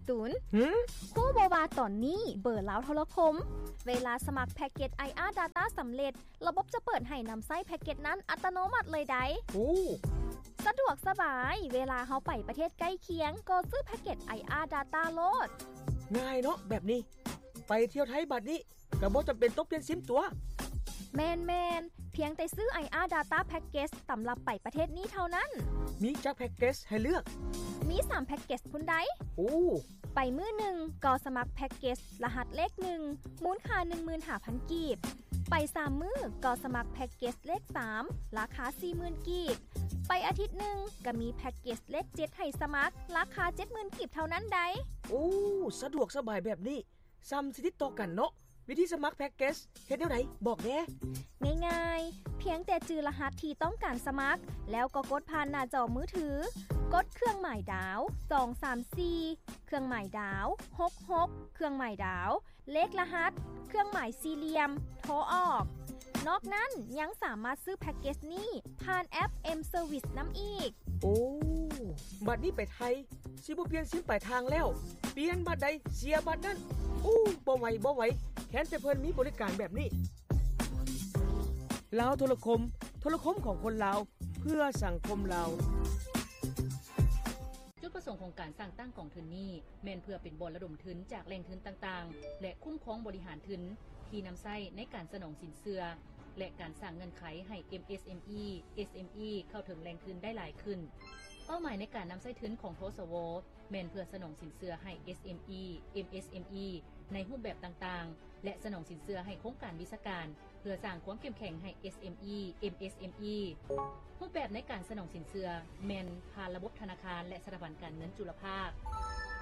ຕູນ ຫື? ຮູ້ບໍ່ວ່າຕອນນີ້ເບີລາວໂທລະຄົມ ເວລາສະໝັກແພັກເກັດ ໄອອາດາຕ້າ ສຳເລັດ, ລະບົບຈະເປີດໃຫ້ນຳໃຊ້ແພັກເກັດນັ້ນອັດຕະໂນມັດເລີຍໃດ໋. ໂອ້ ສະດວກສະບາຍ, ເວລາເຮົາໄປປະເທດໃກ້ຄຽງ ກໍຊື້ແພັກເກັດ ໄອອາດາຕ້າ ໂລດ. ງ່າຍເນາະແບບນີ້. ໄປທ່ຽວໄທບາດນີ້ ກໍບໍ່ຈຳເປັນຕ້ອງປ່ຽນຊິມຕົວ໋. ແມ່ນໆ, ພຽງແຕ່ຊື້ ໄອອາດາຕ້າ ແພັກເກັດ ສຳລັບໄປປະເທດນີ້ເທົ່ານັ້ນ. ມີຈັກແພັກເກັດໃຫ້ເລືອກ? ມີສາມແພັກເກັດພຸ້ນໃດ໋. ໂອ້ ໄປມື້ໜຶ່ງກໍສະໝັກແພັກເກັດລະຫັດເລກໜຶ່ງ ມູນຄ່າໜຶ່ງໝື່ນຫ້າພັນກີບ. ໄປສາມມື້ກໍສະໝັກແພັກເກັດເລກສາມ ລາຄາສີ່ໝື່ນກີບ. ໄປອາທິດໜຶ່ງກໍມີແພັກເກັດເລກເຈັດໃຫ້ສະໝັກ ລາຄາເຈັດໝື່ນກີບເທົ່ານັ້ນໃດ໋. ໂອ້ ສະດວກສະບາຍແບບນີ້ ສ່ຳຊິຕິດຕໍ່ກັນເນາະ. ວິທີສະໝັກແພັກເກັດເຮັດແນວໃດ ບອກແດ່. ງ່າຍໆ, ພຽງແຕ່ຈື່ລະຫັດທີ່ຕ້ອງການສະໝັກ ແລ້ວກໍກົດຜ່ານໜ້າຈໍມືຖື, ກົດເຄື່ອງໝາຍດາວ ສອງສາມສີ່ ເຄື່ອງໝາຍດາວ ຫົກຫົກ ເຄື່ອງໝາຍດາວ ເລກລະຫັດ ເຄື່ອງໝາຍສີ່ຫຼ່ຽມ ໂທອອກ. ນອກນັ້ນຍັງສາມາດຊື້ແພັກເກັດນີ້ຜ່ານແອັບ M Service ນຳອີກ. ໂອ້ ບັດນີ້ໄປໄທ ຊິບໍ່ປ່ຽນຊິມປາຍທາງແລ້ວ, ປ່ຽນບັດໃດເສຍບັດນັ້ນ. ໂອ້ ບໍ່ໄຫວ ບໍ່ໄຫວ, ແຄ້ນແຕ່ເພິ່ນມີບໍລິການແບບນີ້. ລາວໂທລະຄົມ, ໂທລະຄົມຂອງຄົນລາວ ເພື່ອສັງຄົມລາວ. ຈຸດປະສົງຂອງການສ້າງຕັ້ງກອງທຶນນີ້ ແມ່ນເພື່ອເປັນບ່ອນລະດົມທຶນຈາກແຫຼ່ງທຶນຕ່າງໆ ແລະ ຄຸ້ມຄອງບໍລິຫານທຶນທີ່ນຳໃຊ້ໃນການສະໜອງສິນເຊື່ອ ແລະ ການສ້າງເງື່ອນໄຂໃຫ້ MSME SME ເຂົ້າເຖິງແຫຼ່ງທຶນໄດ້ຫຼາຍຂຶ້ນ. ເປົ້າໝາຍໃນການນຳໃຊ້ທຶນຂອງ ທສວ ແມ່ນເພື່ອສະໜອງສິນເຊື່ອໃຫ້ SME MSME ໃນຮູບແບບຕ່າງໆ ແລະ ສະໜອງສິນເຊື່ອໃຫ້ໂຄງການວິຊາການ ເພື່ອສ້າງຄວາມເຂັ້ມແຂງໃຫ້ SME MSME. ຮູບແບບໃນການສະໜອງສິນເຊື່ອແມ່ນຜ່ານລະບົບທະນາຄານ ແລະ ສະຖາບັນການເງິນຈຸລະພາກ.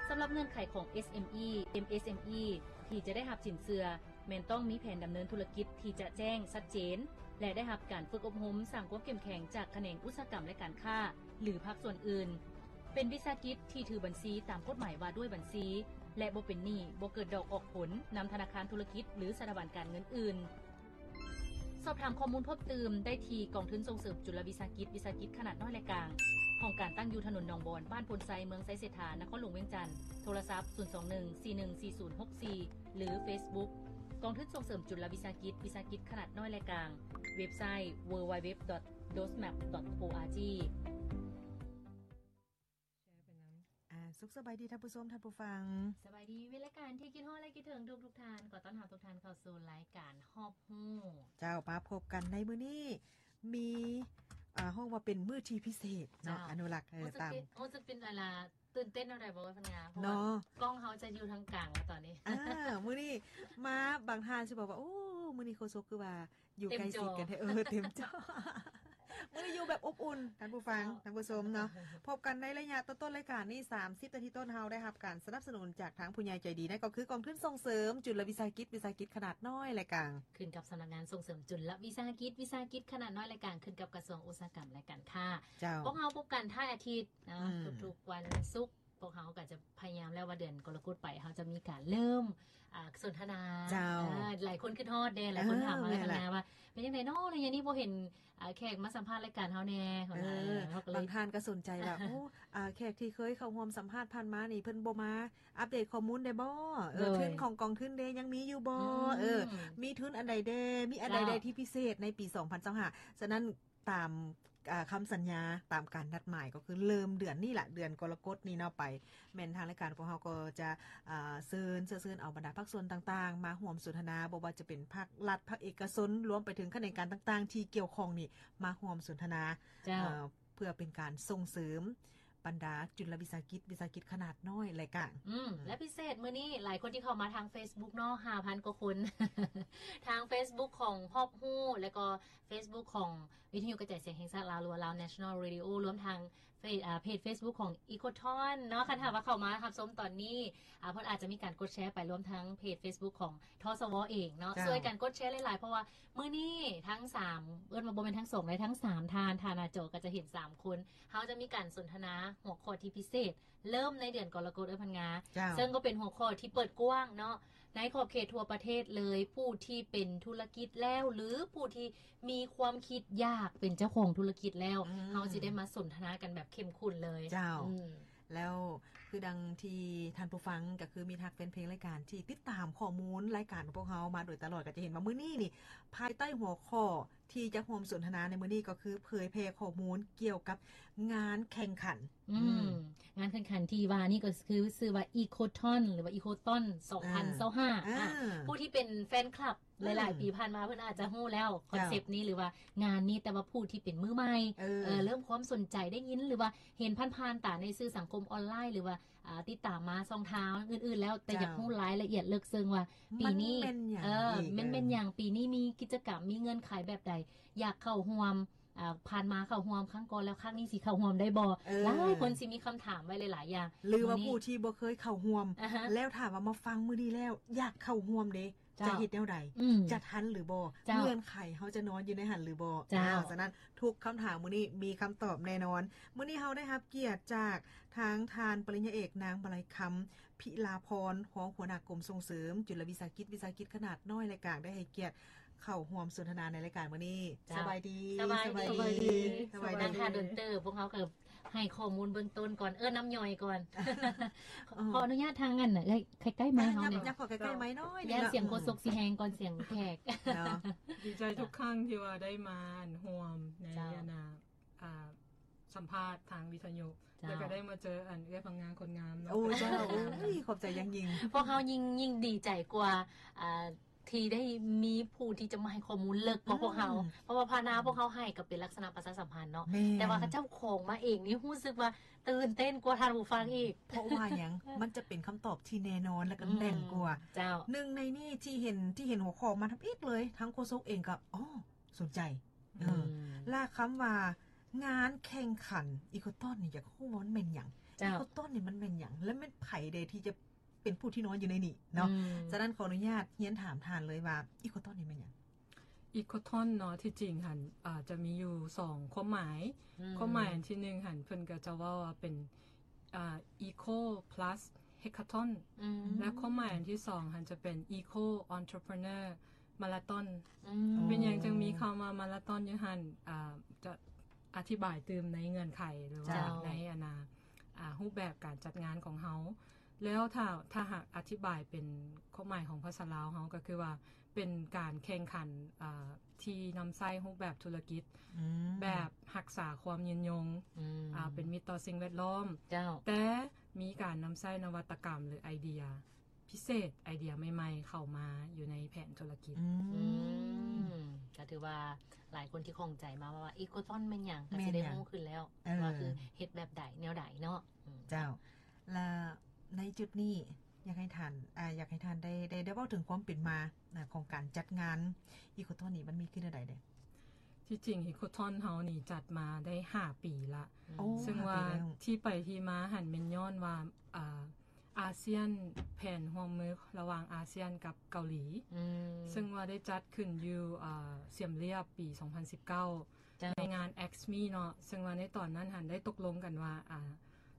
ສຳລັບເງື່ອນໄຂຂອງ SME MSME ທີ່ຈະໄດ້ຮັບສິນເຊື່ອ ແມ່ນຕ້ອງມີແຜນດຳເນີນທຸລະກິດທີ່ຈະແຈ້ງ, ຊັດເຈນ ແລະ ໄດ້ຮັບການຝຶກອົບຮົມສ້າງຄວາມເຂັ້ມແຂງຈາກຂະແໜງອຸດສາຫະກຳ ແລະ ການຄ້າ ຫຼື ພາກສ່ວນອື່ນ, ເປັນວິສາຫະກິດທີ່ຖືບັນຊີຕາມກົດໝາຍວ່າດ້ວຍບັນຊີ ແລະ ບໍ່ເປັນໜີ້, ບໍ່ເກີດດອກອອກຜົນນຳທະນາຄານທຸລະກິດ ຫຼື ສະຖາບັນການເງິນອື່ນ. ສອບຖາມຂໍ້ມູນເພີ່ມຕື່ມໄດ້ທີ່ກອງທຶນສົ່ງເສີມຈຸລະວິສາຫະກິດ ວິສາຫະກິດຂະໜາດນ້ອຍ ແລະ ກາງ, ຫ້ອງການຕັ້ງຢູ່ຖະໜົນໜອງບອນ, ບ້ານໂພນໄຊ, ເມືອງໄຊເສດຖາ, ນະຄອນຫຼວງວຽງຈັນ, ໂທລະສັບ ສູນສອງໜຶ່ງ ສີ່ໜຶ່ງສີ່ສູນຫົກສີ່ ຫຼື ເຟສບຸກ ກອງທຶນສົ່ງເສີມຈຸລະວິສາຫະກິດ ວິສາຫະກິດຂະໜາດນ້ອຍ ແລະ ກາງ, ເວັບໄຊ www.dosmap.org. ອ່າ ສຸກສະບາຍດີທ່ານຜູ້ຊົມ, ທ່ານຜູ້ຟັງ. ສະບາຍດີ ມິດລາຍການທີ່ຄິດຮອດ ແລະ ຄິດເຖິງທຸກໆທ່ານ. ຂໍຕ້ອນຮັບທຸກທ່ານເຂົ້າສູ່ລາຍການຮອບຮູ້. ເຈົ້າ, ມາພົບກັນໃນມື້ນີ້ ມີ ອ່າ ຮ້ອງວ່າເປັນມື້ທີ່ພິເສດເນາະ, ເຈົ້າ. ອະນຸລັກ, ເອີ, ຮູ້ສຶກ ຕາມ ເປັນ ຮູ້ສຶກເປັນອາລາ ຕື່ນເຕັ້ນເນາະ ໄດ້ບໍ່ ພັນງາ ເພາະວ່າ ເນາະ ກ້ອງເຮົາຈະຢູ່ທາງກາງແລ້ວຕອນນີ້. ອ່າ ມື້ນີ້ມາ ບາງທ່ານຊິບອກວ່າ ໂອ້ ມື້ນີ້ໂຄສົກຄືວ່າ ຢູ່ໃກ້ຊິດກັນແທ້ ເຕັມຈໍ ເອີ ເຕັມຈໍ. ມື້ນີ້ຢູ່ແບບອົບອຸ່ນ ທ່ານຜູ້ຟັງ ເຈົ້າ ທ່ານຜູ້ຊົມເນາະ. ພົບກັນໃນໄລຍະຕົ້ນໆລາຍການນີ້ ສາມສິບນາທີຕົ້ນ ເຮົາໄດ້ຮັບການສະໜັບສະໜູນຈາກທາງຜູ້ໃຫຍ່ໃຈດີ ນັ້ນກໍຄືກອງທຶນສົ່ງເສີມຈຸລະວິສາຫະກິດ ວິສາຫະກິດຂະໜາດນ້ອຍ ແລະ ກາງ ຂຶ້ນກັບສຳນັກງານສົ່ງເສີມຈຸລະວິສາຫະກິດ ວິສາຫະກິດຂະໜາດນ້ອຍ ແລະ ກາງ ຂຶ້ນກັບກະຊວງອຸດສາຫະກຳ ແລະ ການຄ້າ. ເຈົ້າ. ພວກເຮົາພົບກັນທັງອາທິດເນາະ ອືມ ທຸກໆວັນສຸກ. ພວກເຮົາກໍຈະພະຍາຍາມແລ້ວວ່າເດືອນກໍລະກົດໄປ ເຮົາຈະມີການເລີ່ມ ອ່າ ສົນທະນາ. ເຈົ້າ. ອ່າ ຫຼາຍຄົນຄິດຮອດເດ້ ຫຼາຍຄົນຖາມມາ ເອີ ແລ້ວ ແມ່ນລະ ທັງນາວ່າ ເປັນຈັ່ງໃດເນາະ ໄລຍະນີ້ບໍ່ເອີ ເຫັນ ອ່າ ແຂກມາສຳພາດລາຍການເຮົາແດ່ ເອີ ເຮົາກໍເລີຍ ບາງທ່ານກໍສົນໃຈວ່າ ໂອ້ ອ່າ ແຂກທີ່ເຄີຍເຂົ້າຮ່ວມສຳພາດຜ່ານມານີ້ ເພິ່ນບໍ່ມາອັບເດດຂໍ້ມູນໄດ້ບໍ່? ເອີ ໂດຍ ທຶນຂອງກອງທຶນເດ້ ຍັງມີຢູ່ບໍ່? ອືມ ເອີ ມີທຶນອັນໃດແດ່? ມີອັນໃດແດ່ ເຈົ້າ ທີ່ພິເສດໃນປີສອງພັນຊາວຫ້າ? ສະນັ້ນ ຕາມ ອ່າ ຄຳສັນຍາ ຕາມການນັດໝາຍ ກໍຄືເລີ່ມເດືອນນີ້ລະ ເດືອນກໍລະກົດນີ້ເນາະ ໄປ ແມ່ນທາງລາຍການພວກເຮົາກໍຈະ ອ່າ ເຊີນ ເຊື້ອເຊີນເອົາບັນດາພາກສ່ວນຕ່າງໆ ມາຮ່ວມສົນທະນາ ບໍ່ວ່າຈະເປັນພາກລັດ ພາກເອກະຊົນ ລວມໄປເຖິງຂະແໜງການຕ່າງໆ ທີ່ກ່ຽວຂ້ອງນີ້ ມາຮ່ວມສົນທະນາ ເຈົ້າ ເພື່ອເປັນການສົ່ງເສີມບັນດາຈຸລະວິສາຫະກິດ ວິສາຫະກິດຂະໜາດນ້ອຍ ແລະ ກາງ. ອືມ ແລະ ພິເສດມື້ນີ້ ຫຼາຍຄົນທີ່ເຂົ້າມາທາງເຟສບຸກເນາະ ຫ້າພັນກວ່າຄົນ ທາງເຟສບຸກຂອງຮອບຮູ້ ແລະ ກໍ ເຟສບຸກຂອງວິທະຍຸກະຈາຍສຽງແຫ່ງຊາດລາວ ຫຼືວ່າ Lao National Radio ລວມທັງເຟສ ອ່າ ເພຈເຟສບຸກຂອງ Ecotone ເນາະ. ຄັນຫາກວ່າເຂົ້າມາຮັບຊົມຕອນນີ້ ອ່າ ເພິ່ນອາດຈະມີການກົດແຊໄປ ລວມທັງເພຈເຟສບຸກຂອງ ທສວ ເອງເນາະ. ເຈົ້າ. ຊ່ວຍກັນກົດແຊຫຼາຍໆ ເພາະວ່າມື້ນີ້ທັງສາມ ເອີ້ນວ່າບໍ່ແມ່ນທັງສອງໃດ ທັງສາມທ່ານ ທ່ານໜ້າຈໍກໍຈະເຫັນສາມຄົນ ເຮົາຈະມີການສົນທະນາຫົວຂໍ້ທີ່ພິເສດ ເລີ່ມໃນເດືອນກໍລະກົດ ເອີ ພັນງາ ເຈົ້າ ເຊິ່ງກໍເປັນຫົວຂໍ້ທີ່ເປີດກວ້າງເນາະ ໃນຂອບເຂດທົ່ວປະເທດເລີຍ ຜູ້ທີ່ເປັນທຸລະກິດແລ້ວ ຫຼື ຜູ້ທີ່ມີຄວາມຄິດຢາກເປັນເຈົ້າຂອງທຸລະກິດແລ້ວ ອືມ ເຮົາຊິໄດ້ມາສົນທະນາກັນແບບເຂັ້ມຂຸ້ນເລີຍ. ເຈົ້າ ອືມ ແລ້ວ ຄືດັ່ງທີ່ທ່ານຜູ້ຟັງ ກໍຄືມິດຮັກແຟນເພງລາຍການທີ່ຕິດຕາມຂໍ້ມູນລາຍການຂອງພວກເຮົາມາໂດຍຕະຫຼອດ ກໍຈະເຫັນວ່າມື້ນີ້ນີ້ ພາຍໃຕ້ຫົວຂໍ້ທີ່ຈະຮ່ວມສົນທະນາໃນມື້ນີ້ ກໍຄືເຜີຍແຜ່ຂໍ້ມູນກ່ຽວກັບງານແຂ່ງຂັນ ອືມ ອືມ ງານແຂ່ງຂັນທີ່ວ່ານີ້ກໍຄືຊື່ວ່າ Ecothon ຫຼືວ່າ Ecothon ສອງພັນຊາວຫ້າ ອາ ອາ ອາ ຜູ້ທີ່ເປັນແຟນຄລັບ ອືມ ຫຼາຍໆປີຜ່ານມາເພິ່ນອາດຈະຮູ້ແລ້ວ ເຈົ້າ ຄອນເຊັບນີ້ ຫຼືວ່າງານນີ້ ແຕ່ວ່າຜູ້ທີ່ເປັນມືໃໝ່ ເອີ ເອີ ເລີ່ມຄວາມສົນໃຈໄດ້ຍິນ ຫຼືວ່າເຫັນຜ່ານໆຕາໃນສື່ສັງຄົມອອນລາຍ ຫຼືວ່າ ອ່າ ຕິດຕາມມາຊ່ອງທາງອື່ນໆແລ້ວ ແຕ່ ເຈົ້າ ຢາກຮູ້ລາຍລະອຽດເລິກເຊິ່ງວ່າປີນີ້ ມັນແມ່ນຫຍັງ ເອີ ອີກ ມັນແມ່ນຫຍັງ ເອີ ປີນີ້ມີກິດຈະກຳ ມີເງື່ອນໄຂແບບໃດ ຢາກເຂົ້າຮ່ວມ ອ່າ ຜ່ານມາເຂົ້າຮ່ວມຄັ້ງກ່ອນແລ້ວ ຄັ້ງນີ້ຊິເຂົ້າຮ່ວມໄດ້ບໍ່ ເອີ ຫຼາຍຄົນຊິມີຄຳຖາມໄວ້ຫຼາຍໆຢ່າງ ຫຼືວ່າຜູ້ທີ່ບໍ່ເຄີຍເຂົ້າຮ່ວມ ອາຮະ ແລ້ວຖ້າວ່າມາຟັງມື້ນີ້ແລ້ວ ຢາກເຂົ້າຮ່ວມເດ້ ເຈົ້າ ຈະເຮັດແນວໃດ ອືມ ຈະທັນຫຼືບໍ່ ເຈົ້າ ເງື່ອນໄຂເຮົາຈະນອນຢູ່ໃນຫັ້ນຫຼືບໍ່ ເຈົ້າ ອ້າວ ສະນັ້ນທຸກຄຳຖາມມື້ນີ້ມີຄຳຕອບແນ່ນອນ ມື້ນີ້ເຮົາໄດ້ຮັບກຽດຈາກທາງທ່ານປະລິນຍາເອກ ນາງມະໄລຄຳ ພິລາພອນ ຮອງຫົວໜ້າກົມສົ່ງເສີມຈຸລະວິສາຫະກິດ ວິສາຫະກິດຂະໜາດນ້ອຍ ແລະ ກາງ ໄດ້ໃຫ້ກຽດເຂົ້າຮ່ວມສົນທະນາໃນລາຍການມື້ນີ້ ເຈົ້າ ສະບາຍດີ ສະບາຍດີ ສະບາຍດີ ນັ່ງຖ້າດົນເຕີບ ພວກເຮົາກໍ ໃຫ້ຂໍ້ມູນເບື້ອງຕົ້ນກ່ອນ ເອີ້ນນຳຍ່ອຍກ່ອນ ເອີ ຂໍອະນຸຍາດທາງອັນ ໃກ້ໆໄມເຮົານີ້ ຍັບເຂົ້າໃກ້ໆໄມໜ້ອຍໜຶ່ງ ຢ້ານສຽງໂຄສົກຊິແຮງກ່ອນສຽງແຂກເນາະ ດີໃຈທຸກຄັ້ງທີ່ວ່າໄດ້ມາຮ່ວມໃນ ເຈົ້າ ອັນນ່າ ອ່າ ສຳພາດທາງວິທະຍຸ ເຈົ້າ ແລ້ວກໍໄດ້ມາເຈີອັນເອື້ອຍພັງງາມຄົນງາມເນາະ ໂອ້ ເຈົ້າ ໂອ້ຍ ຂອບໃຈຢ່າງຍິ່ງ ພວກເຮົາຍິ່ງ ຍິ່ງດີໃຈກວ່າ ອ່າ ທີ່ໄດ້ມີຜູ້ທີ່ຈະມາໃຫ້ຂໍ້ມູນເລິກກວ່າ ອືມ ພວກເຮົາ ເພາະວ່າຜ່ານມາພວກເຮົາໃຫ້ກໍເປັນລັກສະນະປະຊາສຳພັນເນາະ ແມ່ນ ແຕ່ວ່າເຂົາເຈົ້າຂອງມາເອງນີ້ຮູ້ສຶກວ່າຕື່ນເຕັ້ນກວ່າທ່ານຜູ້ຟັງອີກ ເພາະວ່າຫຍັງ ມັນຈະເປັນຄຳຕອບທີ່ແນ່ນອນ ແລະ ກໍແໜ້ນກວ່າ ອືມ ເຈົ້າ ໜຶ່ງໃນນີ້ທີ່ເຫັນ ທີ່ເຫັນຫົວຂໍ້ມາທຳອິດເລີຍ ທັງໂຄສົກເອງກໍ ອໍ ສົນໃຈ ເອີ ອືມ ແລະ ຄຳວ່າງານແຂ່ງຂັນ Ecothon ນີ້ ຢາກຮູ້ວ່າມັນແມ່ນຫຍັງ ເຈົ້າ Ecothon ນີ້ມັນແມ່ນຫຍັງ ແລະ ແມ່ນໃຜແດ່ທີ່ຈະ ເປັນຜູ້ທີ່ນອນຢູ່ໃນນີ້ເນາະ ອືມ ສະນັ້ນຂໍອະນຸຍາດຮຽນຖາມທ່ານເລີຍວ່າ Ecothon ນີ້ແມ່ນຫຍັງ? Ecothon ເນາະ ທີ່ຈິງຫັ້ນ ອ່າ ຈະມີຢູ່ສອງຄວາມໝາຍ ອືມ ຄວາມໝາຍອັນທີໜຶ່ງຫັ້ນ ເພິ່ນກໍຈະເວົ້າວ່າເປັນ ອ່າ Eco Plus Hackathon ອືມ ແລະ ຄວາມໝາຍອັນທີສອງຫັ້ນຈະເປັນ Eco Entrepreneur Marathon ອືມ ເປັນຫຍັງຈຶ່ງມີຄຳວ່າ Marathon ຢູ່ຫັ້ນ ອ່າ ຈະອະທິບາຍຕື່ມໃນເງື່ອນໄຂ ຫຼືວ່າ ເຈົ້າ ໃນອັນນ່າ ອ່າ ຮູບແບບການຈັດງານຂອງເຮົາ ແລ້ວຖ້າ ຖ້າຫາກອະທິບາຍເປັນຄວາມໝາຍຂອງພາສາລາວເຮົາ ກໍຄືວ່າເປັນການແຂ່ງຂັນ ອ່າ ທີ່ນຳໃຊ້ຮູບແບບທຸລະກິດ ອືມ ແບບຮັກສາຄວາມຍືນຍົງ ອືມ ອ່າ ເປັນມິດຕໍ່ສິ່ງແວດລ້ອມ ເຈົ້າ ແຕ່ມີການນຳໃຊ້ນະວັດຕະກຳ ຫຼື ໄອເດຍພິເສດ ໄອເດຍໃໝ່ໆເຂົ້າມາຢູ່ໃນແຜນທຸລະກິດ ອືມ ອືມ ກໍຖືວ່າຫຼາຍຄົນທີ່ຂ້ອງໃຈມາວ່າ Ecothon ແມ່ນຫຍັງ ກໍຊິໄດ້ ແມ່ນຫຍັງ ຮູ້ຂຶ້ນແລ້ວ ເອີ ວ່າຄືເຮັດແບບໃດ ແນວໃດເນາະ ອືມ ເຈົ້າ ແລະ ໃນຈຸດນີ້ ຢາກໃຫ້ທ່ານ ອ່າ ຢາກໃຫ້ທ່ານໄດ້ ໄດ້ ໄດ້ເວົ້າເຖິງຄວາມເປັນມາ ອ່າ ຂອງການຈັດງານ Ecothon ນີ້ ມັນມີຂຶ້ນແນວໃດແດ່? ທີ່ຈິງ Ecothon ເຮົານີ້ຈັດມາໄດ້ຫ້າປີລະ ໂອ້ ເຊິ່ງວ່າ ຫ້າປີແລ້ວ ທີ່ໄປທີ່ມາຫັ້ນແມ່ນຍ້ອນວ່າ ອ່າ ອາຊຽນ ແຜນຮ່ວມມືລະຫວ່າງອາຊຽນກັບເກົາຫຼີ ອືມ ເຊິ່ງວ່າໄດ້ຈັດຂຶ້ນຢູ່ ອ່າ ສຽມລຽບ ປີສອງພັນສິບເກົ້າ ເຈົ້າ ໃນງານ X Me ເນາະ ເຊິ່ງວ່າໃນຕອນນັ້ນຫັ້ນໄດ້ຕົກລົງກັນວ່າ ອ່າ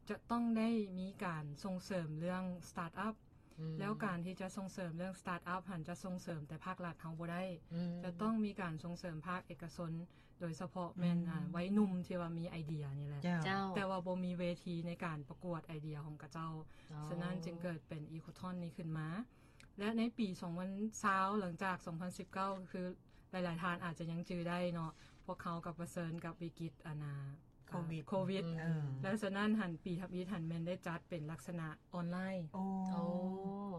ຈະຕ້ອງໄດ້ມີການສົ່ງເສີມເລື່ອງ Startup ອືມ ແລ້ວການທີ່ຈະສົ່ງເສີມເລື່ອງ Startup ຫັ້ນຈະສົ່ງເສີມແຕ່ພາກລັດເຮົາບໍ່ໄດ້ ອືມ ຈະຕ້ອງມີການສົ່ງເສີມພາກເອກະຊົນ ໂດຍສະເພາະແມ່ນ ອືມ ອ່າ ໄວໜຸ່ມທີ່ວ່າມີໄອເດຍນີ້ແຫຼະ ເຈົ້າ ເຈົ້າ ແຕ່ວ່າບໍ່ມີເວທີໃນການປະກວດໄອເດຍຂອງເຂົາເຈົ້າ ອໍ ສະນັ້ນຈຶ່ງເກີດເປັນ Ecothon ນີ້ຂຶ້ນມາ ແລະ ໃນປີສອງພັນຊາວ ຫຼັງຈາກສອງພັນສິບເກົ້າ ກໍຄື ຫຼາຍໆທ່ານອາດຈະຍັງຈື່ໄດ້ເນາະ ພວກເຮົາກໍປະເຊີນກັບວິກິດ ອັນນ່າ ໂຄວິດ ໂຄວິດ ອືມ ແລ້ວສະນັ້ນຫັ້ນ ປີທຳອິດຫັ້ນແມ່ນໄດ້ຈັດເປັນລັກສະນະອອນລາຍ ໂອ້ ໂອ້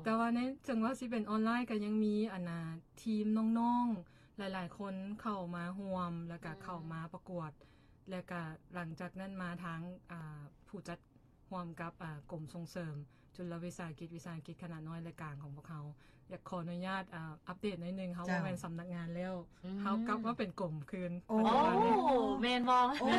ແຕ່ວ່າໃນ ເຖິງວ່າຊິເປັນອອນລາຍ ກໍຍັງມີ ອັນນ່າ ທີມນ້ອງໆຫຼາຍໆຄົນເຂົ້າມາຮ່ວມ ແລ້ວກໍ ອືມ ເຂົ້າມາປະກວດ ແລ້ວກໍຫຼັງຈາກນັ້ນມາທາງ ອ່າ ຜູ້ຈັດ ຮ່ວມກັບ ອ່າ ກົມສົ່ງເສີມຈຸລະວິສາຫະກິດ ວິສາຫະກິດຂະໜາດນ້ອຍ ແລະ ກາງຂອງພວກເຮົາ ຢາກຂໍອະນຸຍາດ ອ່າ ອັບເດດໜ້ອຍໜຶ່ງ ເຮົາ ເຈົ້າ ບໍ່ແມ່ນສຳນັກງານແລ້ວ ອືມ ເຮົາກັບມາເປັນກົມຄືນ ໂອ້ ປັດຈຸບັນນີ້ ໂອ້ ແມ່ນບໍ່? ເອີ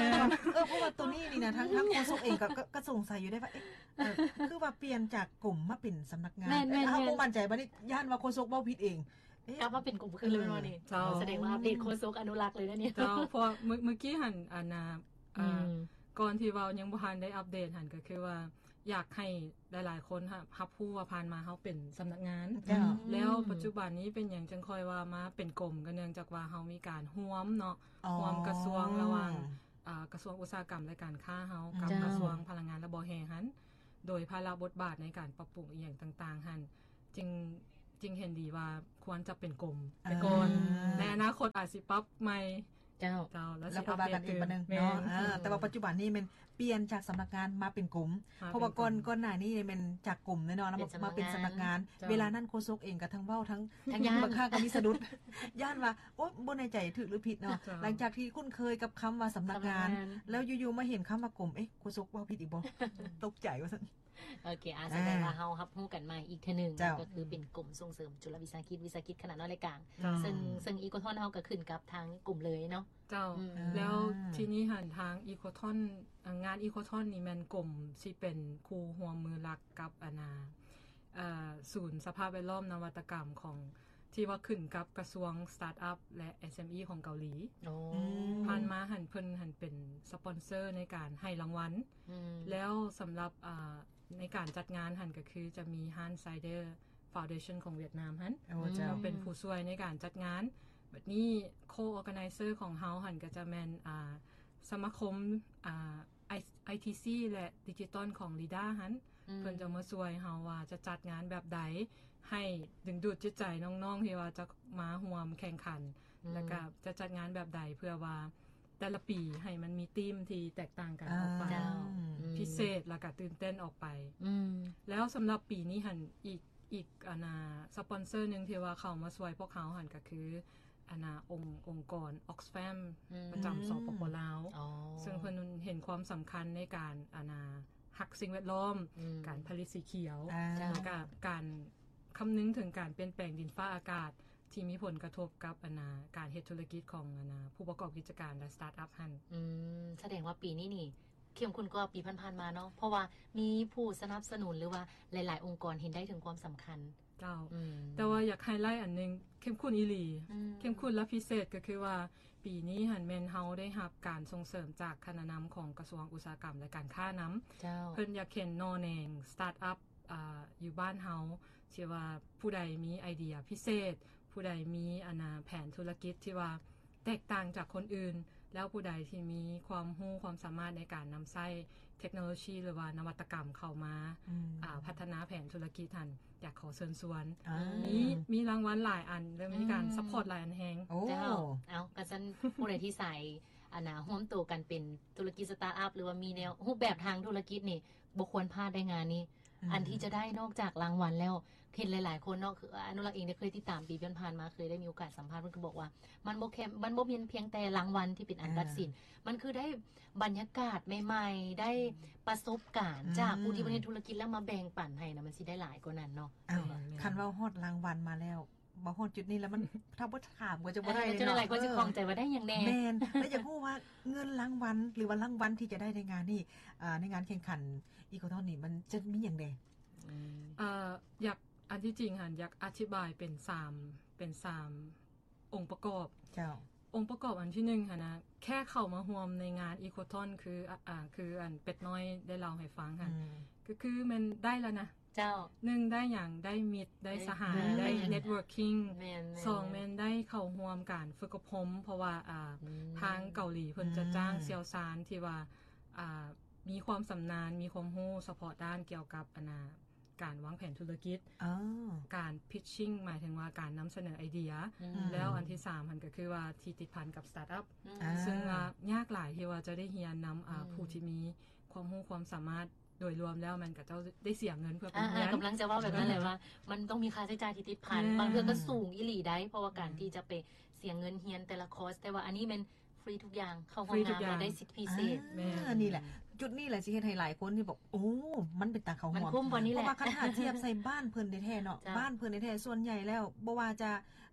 ເອີ ເພາະວ່າໂຕນີ້ນີ້ນະ ທາງ ທາງໂຄສົກເອງກໍ ກໍ ກໍສົງໄສຢູ່ເດ້ວ່າ ເອີ ຄືວ່າປ່ຽນຈາກກົມມາເປັນສຳນັກງານ ແມ່ນໆໆ ເຮົາບໍ່ໝັ້ນໃຈ ບັດນີ້ຢ້ານວ່າໂຄສົກເວົ້າຜິດເອງ ເອີ ກັບມາເປັນກົມຄືນເລີຍເນາະນີ້ ເຈົ້າ ສະແດງວ່າອັບເດດໂຄສົກອະນຸລັກເລີຍນະນີ້ ເຈົ້າ ເພາະວ່າມື້ ມື້ກີ້ຫັ້ນ ອັນນ່າ ອ່າ ອືມ ກ່ອນທີ່ເວົ້າຍັງບໍ່ທັນໄດ້ອັບເດດຫັ້ນ ກໍຄືວ່າຢາກໃຫ້ຫຼາຍໆຄົນຮັບ ຮັບຮູ້ວ່າຜ່ານມາເຮົາເປັນສຳນັກງານ ເຈົ້າ ແລ້ວ ອືມ ປັດຈຸບັນນີ້ເປັນຫຍັງຈຶ່ງຄ່ອຍວ່າມາເປັນກົມ ກໍເນື່ອງຈາກວ່າເຮົາມີການຮ່ວມເນາະ ອໍ ຮ່ວມກະຊວງລະຫວ່າງ ອ່າ ກະຊວງອຸດສາຫະກຳ ແລະ ການຄ້າເຮົາກັບ ເຈົ້າ ກະຊວງພະລັງງານ ແລະ ບໍ່ແຮ່ຫັ້ນ ໂດຍພາລະບົດບາດໃນການປັບປຸງອີ່ຫຍັງຕ່າງໆຫັ້ນ ຈຶ່ງ ຈຶ່ງເຫັນດີວ່າຄວນຈະເປັນກົມໄປກ່ອນ. ອາ ໃນອະນາຄົດອາດຊິປັບໃໝ່. ເຈົ້າ ເຈົ້າ ແລ້ວ ແລ້ວຄ່ອຍວ່າກັນອີກບາດໜຶ່ງເນາະ. ເອີ ແຕ່ວ່າປັດຈຸບັນນີ້ແມ່ນປ່ຽນຈາກສຳນັກງານມາເປັນກົມ ເພາະວ່າກ່ອນ ເປັນກົມ ກ່ອນໜ້ານີ້ແມ່ນຈາກກົມເນາະ ມາເປັນສຳນັກງານ. ເຈົ້າ ເວລານັ້ນໂຄສົກເອງກໍທັງເວົ້າທັງ ທັງຢ້ານ ບາງຄັ້ງກໍມີສະດຸດ ຢ້ານວ່າ ໂອ້ ບໍ່ແນ່ໃຈຖືກຫຼືຜິດເນາະ. ເຈົ້າ ຫຼັງຈາກທີ່ຄຸ້ນເຄີຍກັບຄຳວ່າສຳນັກງານ ສຳນັກງານ ແລ້ວຢູ່ໆມາເຫັນຄຳວ່າກົມ ເອະ ໂຄສົກເວົ້າຜິດອີກບໍ່? ຕົກໃຈວ່າຊັ້ນ. ໂອເຄ ອາ ສະແດງວ່າເຮົາຮັບຮູ້ກັນໃໝ່ອີກເທື່ອໜຶ່ງ ເຈົ້າ ກໍຄືເປັນກົມສົ່ງເສີມຈຸລະວິສາຫະກິດ ວິສາຫະກິດຂະໜາດນ້ອຍ ແລະ ກາງ. ເຈົ້າ ເຊິ່ງ ເຊິ່ງອີໂຄທອນເຮົາກໍຂຶ້ນກັບທາງກົມເລີຍເນາະ. ເຈົ້າ ອືມ ແລ້ວທີນີ້ຫັ້ນ ທາງອີໂຄທອນ ອາ ງານອີໂຄທອນນີ້ແມ່ນກົມຊິເປັນຄູ່ຮ່ວມມືຫຼັກກັບ ອັນນ່າ ເອີ ສູນສະພາບແວດລ້ອມນະວັດຕະກຳຂອງ ທີ່ວ່າຂຶ້ນກັບກະຊວງສະຕາດອັບ ແລະ ເອສເອັມອີ ຂອງເກົາຫຼີ. ໂອ້ ອືມ ຜ່ານມາຫັ້ນເພິ່ນຫັ້ນເປັນສະປອນເຊີໃນການໃຫ້ລາງວັນ. ອືມ ແລ້ວສຳລັບ ອາ ໃນການຈັດງານຫັ້ນກໍຄືຈະມີຮ້ານໄຊເດີຟາວເດຊັນຂອງຫວຽດນາມຫັ້ນ ໂອ້ ເຈົ້າ ເປັນຜູ້ຊ່ວຍໃນການຈັດງານ. ບັດນີ້ໂຄອໍແກໄນເຊີຂອງເຮົາຫັ້ນກໍຈະແມ່ນ ອາ ສະມາຄົມ ອາ ໄອ ໄອທີຊີ ແລະ ດິຈິຕອນຂອງລີດາຫັ້ນ. ອືມ ເພິ່ນຈະມາຊ່ວຍເຮົາວ່າຈະຈັດງານແບບໃດ ໃຫ້ດຶງດູດຈິດໃຈນ້ອງໆທີ່ວ່າຈະມາຮ່ວມແຂ່ງຂັນ ອືມ ແລ້ວກໍຈະຈັດງານແບບໃດ ເພື່ອວ່າແຕ່ລະປີໃຫ້ມັນມີທີມທີ່ແຕກຕ່າງກັນອອກໄປ ເຈົ້າ ອືມ ພິເສດ ແລ້ວກໍຕື່ນເຕັ້ນອອກໄປ. ອືມ ແລ້ວສຳລັບປີນີ້ຫັ້ນ ອີກ ອີກ ອັນນ່າ ສະປອນເຊີໜຶ່ງທີ່ວ່າເຂົ້າມາຊ່ວຍພວກເຮົາຫັ້ນກໍຄື ອັນນ່າ ອົງ ອົງກອນ Oxfam ອືມ ປະຈຳ ສປປ ລາວ. ອໍ ເຊິ່ງເພິ່ນເຫັນຄວາມສຳຄັນໃນການ ອັນນ່າ ຮັກສິ່ງແວດລ້ອມ ອືມ ການຜະລິດສີຂຽວ ອາ ແລ້ວກໍການຄຳນຶງເຖິງການປ່ຽນແປງດິນຟ້າອາກາດ ທີ່ມີຜົນກະທົບກັບ ອັນນ່າ ການເຮັດທຸລະກິດຂອງ ອັນນ່າ ຜູ້ປະກອບກິດຈະການ ແລະ ສະຕາດອັບຫັ້ນ. ອືມ ສະແດງວ່າປີນີ້ນີ້ ເຂັ້ມຂຸ້ນກວ່າປີຜ່ານໆມາເນາະ ເພາະວ່າມີຜູ້ສະໜັບສະໜູນ ຫຼືວ່າຫຼາຍໆອົງກອນເຫັນໄດ້ເຖິງຄວາມສຳຄັນ. ເຈົ້າ ອືມ ແຕ່ວ່າຢາກໄຮໄລອັນໜຶ່ງ ເຂັ້ມຂຸ້ນອີ່ຫຼີ. ອືມ ເຂັ້ມຂຸ້ນ ແລະ ພິເສດກໍຄືວ່າ ປີນີ້ຫັ້ນແມ່ນເຮົາໄດ້ຮັບການສົ່ງເສີມຈາກຄະນະນຳຂອງກະຊວງອຸດສາຫະກຳ ແລະ ການຄ້ານຳ. ເຈົ້າ ເພິ່ນຢາກເຫັນໜໍ່ແໜງສະຕາດອັບ ອາ ຢູ່ບ້ານເຮົາ ທີ່ວ່າຜູ້ໃດມີໄອເດຍພິເສດ ຜູ້ໃດມີ ອັນນ່າ ແຜນທຸລະກິດທີ່ວ່າແຕກຕ່າງຈາກຄົນອື່ນ ແລ້ວຜູ້ໃດທີ່ມີຄວາມຮູ້ຄວາມສາມາດໃນການນຳໃຊ້ເທັກໂນໂລຊີ ຫຼືວ່ານະວັດຕະກຳເຂົ້າມາ ອືມ ອາ ພັດທະນາແຜນທຸລະກິດຫັ້ນ ຢາກຂໍເຊີນຊວນ. ອາ ມີ ມີລາງວັນຫຼາຍອັນ ແລະ ມີການ ອືມ ຊັບພອດຫຼາຍອັນແຮງ. ໂອ້ ເຈົ້າ ເອົາ ກະຊັ້ນ ຜູ້ໃດທີ່ໃສ່ ອັນນ່າ ຮ່ວມໂຕກັນເປັນທຸລະກິດສະຕາດອັບ ຫຼືວ່າມີແນວ ອືມ ຮູບແບບທາງທຸລະກິດນີ້ ບໍ່ຄວນພາດໄດ້ງານນີ້. ອືມ ອັນທີ່ຈະໄດ້ນອກຈາກລາງວັນແລ້ວ ເຫັນຫຼາຍໆຄົນເນາະ ຄືອານຸລັກເອງໄດ້ເຄີຍຕິດຕາມປີຜ່ານໆມາ ເຄີຍໄດ້ມີໂອກາດສຳພາດ ເພິ່ນກໍບອກວ່າ ມັນບໍ່ແຄ່ ມັນບໍ່ແມ່ນພຽງແຕ່ລາງວັນທີ່ເປັນອັນ ອ່າ ຕັດສິນ ມັນຄືໄດ້ບັນຍາກາດໃໝ່ໆ ໄດ້ປະສົບການ ອືມ ຈາກຜູ້ທີ່ບໍ່ໄດ້ເຮັດທຸລະກິດ ແລ້ວມາແບ່ງປັນໃຫ້ນະ ມັນຊິໄດ້ຫຼາຍກວ່ານັ້ນເນາະ. ເອົ້າ ແມ່ນໆ ຄັນເວົ້າຮອດລາງວັນມາແລ້ວ ມາຮອດຈຸດນີ້ແລ້ວ ມັນ ຖ້າບໍ່ຖາມກໍຈະບໍ່ໄດ້ເນາະ. ເອີ ຫຼາຍໆຄົນຊິຂ້ອງໃຈວ່າໄດ້ຫຍັງແດ່. ແມ່ນ ແລ້ວຢາກຮູ້ວ່າເງິນລາງວັນ ຫຼືວ່າລາງວັນທີ່ຈະໄດ້ໃນງານນີ້ ອ່າ ໃນງານແຂ່ງຂັນອີໂຄທອນນີ້ ມັນຈະມີຫຍັງແດ່? ອືມ ເອີ ຢາກ ອັນທີ່ຈິງຫັ້ນ ຢາກອະທິບາຍເປັນສາມ ເປັນສາມອົງປະກອບ. ເຈົ້າ ອົງປະກອບອັນທີໜຶ່ງຫັ້ນນະ ແຄ່ເຂົ້າມາຮ່ວມໃນງານອີໂຄທອນ ຄື ອາ ອາ ຄືອັນເປັດນ້ອຍໄດ້ເລົ່າໃຫ້ຟັງຫັ້ນ ອືມ ກໍຄືແມ່ນໄດ້ແລ້ວນະ. ເຈົ້າ ໜຶ່ງ ໄດ້ຫຍັງ? ໄດ້ມິດ ໄດ້ສະຫາຍ ໄດ້ ໄດ້ networking. ແມ່ນໆໆ ສອງ ແມ່ນໄດ້ເຂົ້າຮ່ວມການຝຶກອົບຮົມ ເພາະວ່າ ອ່າ ອືມ ທາງເກົາຫຼີເພິ່ນຈະຈ້າງ ອືມ ຊ່ຽວຊານທີ່ວ່າ ອ່າ ມີຄວາມຊຳນານ ມີຄວາມຮູ້ສະເພາະດ້ານກ່ຽວກັບ ອັນນ່າ ການວາງແຜນທຸລະກິດ ອໍ ການ pitching ໝາຍເຖິງວ່າການນຳສະເໜີໄອເດຍ ອືມ ແລ້ວອັນທີສາມຫັ້ນກໍຄືວ່າທີ່ຕິດພັນກັບສະຕາດອັບ ອືມ ອ່າ ເຊິ່ງວ່າຍາກຫຼາຍທີ່ວ່າຈະໄດ້ຮຽນນຳ ອ່າ ອືມ ຜູ້ທີ່ມີຄວາມຮູ້ຄວາມສາມາດ ໂດຍລວມແລ້ວແມ່ນເຂົາເຈົ້າໄດ້ເສຍເງິນເພື່ອໄປຮຽນ. ອ່າ ກຳລັງຈະເວົ້າແບບນັ້ນແຫຼະວ່າ ມັນຕ້ອງມີຄ່າໃຊ້ຈ່າຍທີ່ຕິດພັນ ແມ່ນ ບາງເທື່ອກໍສູງອີ່ຫຼີໄດ໋ ເພາະວ່າການ ອືມ ທີ່ຈະໄປເສຍເງິນຮຽນແຕ່ລະຄອສ ແຕ່ວ່າອັນນີ້ແມ່ນຟຣີທຸກຢ່າງ ເຂົ້າຮ່ວມງານ ຟຣີທຸກຢ່າງ ແລ້ວໄດ້ສິດພິເສດ. ອ່າ ແມ່ນ ນີ້ແຫຼະ ຈຸດນີ້ແຫຼະຊິເຮັດໃຫ້ຫຼາຍຄົນທີ່ບອກ ໂອ້ ມັນເປັນຕາເຂົ້າຮ່ວມ ມັນຄຸ້ມບໍ່ນີ້ແຫຼະ ເພາະວ່າຄັນຖ້າທຽບໃສ່ບ້ານເພິ່ນແທ້ໆເນາະ ເຈົ້າ ບ້ານເພິ່ນແທ້ໆ ສ່ວນໃຫຍ່ແລ້ວ ບໍ່ວ່າຈະ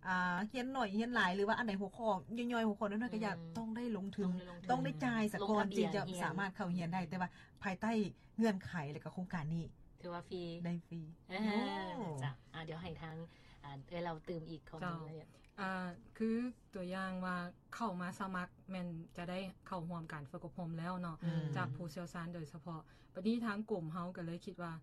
ອ່າ ຮຽນໜ້ອຍຮຽນຫຼາຍ ຫຼືວ່າອັນໃດຫົວຂໍ້ຍ່ອຍໆ ຫົວຂໍ້ນ້ອຍໆ ກໍຢາກ ອືມ ຕ້ອງໄດ້ລົງທຶນ ຕ້ອງໄດ້ລົງທຶນ ຕ້ອງໄດ້ຈ່າຍສາກ່ອນ ຈຶ່ງຈະສາມາດເຂົ້າຮຽນໄດ້ ແຕ່ວ່າພາຍໃຕ້ ເງື່ອນໄຂ ແລະ ກໍໂຄງການນີ້ ຖືວ່າຟຣີ ໄດ້ຟຣີ. ເອີ ໂອ້ ເຈົ້າ ອ່າ ດຽວໃຫ້ທາງ ອ່າ ເອື້ອຍລາວຕື່ມອີກຂໍ້ມູນລາຍລະອຽດ. ອ່າ ຄືຕົວຢ່າງວ່າເຂົ້າມາສະໝັກແມ່ນຈະໄດ້ເຂົ້າຮ່ວມການຝຶກອົບຮົມແລ້ວເນາະ ອືມ ຈາກຜູ້ຊ່ຽວຊານໂດຍສະເພາະ. ບັດນີ້ທາງກົມເຮົາກໍເລີຍຄິດວ່າ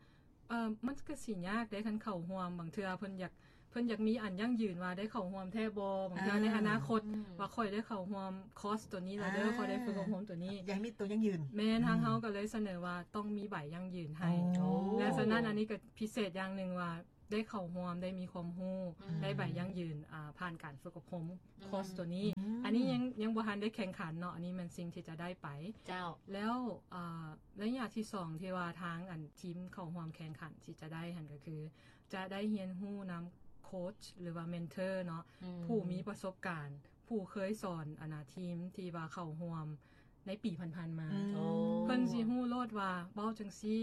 ເອີ ມັນກໍຊິຍາກເດ້ ຄັນເຂົ້າຮ່ວມ ບາງເທື່ອເພິ່ນຢາກ ເພິ່ນຢາກມີອັນຢັ້ງຢືນວ່າໄດ້ເຂົ້າຮ່ວມແທ້ບໍ່ ບາງເທື່ອໃນອະນາຄົດ ອືມ ວ່າຂ້ອຍໄດ້ເຂົ້າຮ່ວມຄອສໂຕນີ້ແລ້ວເດີ ອາ ຂ້ອຍໄດ້ຝຶກອົບຮົມໂຕນີ້ ຢາກມີໂຕຢັ້ງຢືນ ແມ່ນ ອືມ ທາງເຮົາກໍເລີຍສະເໜີວ່າຕ້ອງມີໃບຢັ້ງຢືນໃຫ້ ໂອ້ ແລະສະນັ້ນອັນນີ້ກໍພິເສດຢ່າງໜຶ່ງວ່າ ໄດ້ເຂົ້າຮ່ວມ ໄດ້ມີຄວາມຮູ້ ອືມ ໄດ້ໃບຢັ້ງຢືນ ອ່າ ຜ່ານການຝຶກອົບຮົມ ອືມ ຄອສໂຕນີ້ ອືມ ອັນນີ້ຍັງ ຍັງບໍ່ທັນໄດ້ແຂ່ງຂັນເນາະ ອັນນີ້ແມ່ນສິ່ງທີ່ຈະໄດ້ໄປ ເຈົ້າ ແລ້ວ ອ່າ ໄລຍະທີສອງ ທີ່ວ່າທາງອັນທີມເຂົ້າຮ່ວມແຂ່ງຂັນທີ່ຈະໄດ້ຫັ້ນ ກໍຄືຈະໄດ້ຮຽນຮູ້ນຳໂຄດ ຫຼືວ່າເມັນເທີເນາະ ອືມ ຜູ້ມີປະສົບການ ຜູ້ເຄີຍສອນອັນນາທີມທີ່ວ່າເຂົ້າຮ່ວມໃນປີຜ່ານໆມາ ອືມ ໂອ້ ເພິ່ນຊິຮູ້ໂລດວ່າເວົ້າຈັ່ງຊີ້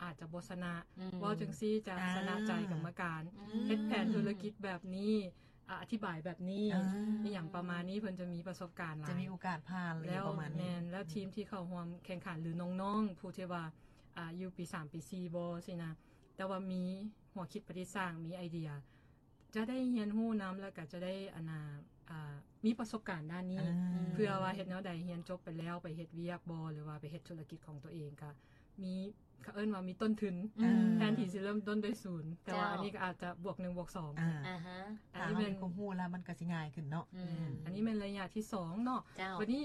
ອາດຈະບໍ່ຊະນະ ອືມ ເວົ້າຈັ່ງຊີ້ຈະ ອ່າ ຊະນະໃຈກຳມະການ ອືມ ເຮັດແຜນທຸລະກິດແບບນີ້ ອະ ອະທິບາຍແບບນີ້ ອ່າ ອີ່ຫຍັງປະມານນີ້ ເພິ່ນຈະມີປະສົບການຫຼາຍ ຈະມີໂອກາດຜ່ານ ແລ້ວ ປະມານນີ້ ແມ່ນ ແລ້ວທີມທີ່ເຂົ້າຮ່ວມແຂ່ງຂັນ ຫຼື ນ້ອງໆ ຜູ້ທີ່ວ່າ ອ່າ ຢູ່ປີສາມ ປີສີ່ບໍ່ຊີ້ນະ ແຕ່ວ່າມີຫົວຄິດປະດິດສ້າງ ມີໄອເດຍ ຈະໄດ້ຮຽນຮູ້ນຳ ແລ້ວກໍຈະໄດ້ ອັນນາ ອ່າ ມີປະສົບການດ້ານນີ້ ອ່າ ເພື່ອວ່າເຮັດແນວໃດ ຮຽນຈົບໄປແລ້ວໄປເຮັດວຽກບໍ່ ຫຼືວ່າໄປເຮັດທຸລະກິດຂອງຕົວເອງ ກໍມີ ເຂົາເອີ້ນວ່າມີຕົ້ນທຶນ ອືມ ແທນທີ່ຊິເລີ່ມຕົ້ນດ້ວຍສູນ ແຕ່ວ່າ ເຈົ້າ ອັນນີ້ກໍອາດຈະບວກໜຶ່ງບວກສອງ ອ່າ ອ່າຮະ ອັນນີ້ແມ່ນ ຖ້າເຮົາມີຄວາມຮູ້ແລ້ວມັນກໍຊິງ່າຍຂຶ້ນເນາະ ອືມ ອືມ ອັນນີ້ແມ່ນໄລຍະທີສອງເນາະ ເຈົ້າ ບັດນີ້